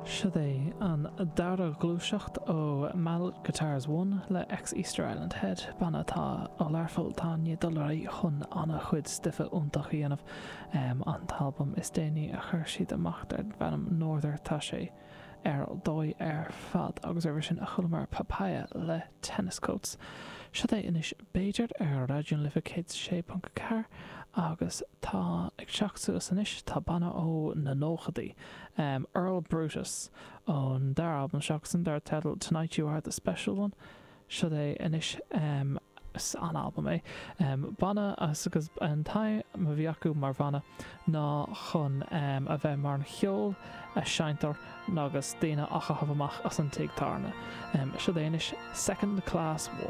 Siod é an dara gluaiseacht ó Mallet Guitars One le ex Easter Island Head, banna atá ó Learpholl atá i ndiaidh dul ar aghaidh chun an-chuid stuife iontach a dhéanamh. An t-albam is déanaí a chuir siad amach darb ainm Norther, tá sé ar dóigh ar fad agus roimhe sin chualamar Papaya le Tennis Coats. Siod é anois B'fhéidir ar Raidió na Life 106.4 agus tá ag teacht suas anois tá banna ó na nóchadaí, Earl Brutus, ón dara albam s'acusan dar teideal Tonight You Are The Special One. Siod é anois, is an-albam é. Banna as agus an t-aidhm a bhí acu mar bhanna ná chun a bheith mar an cheol a seinntear agus daoine á chaitheamh amach as an tigh tábhairne. Siod é anois Second Class War.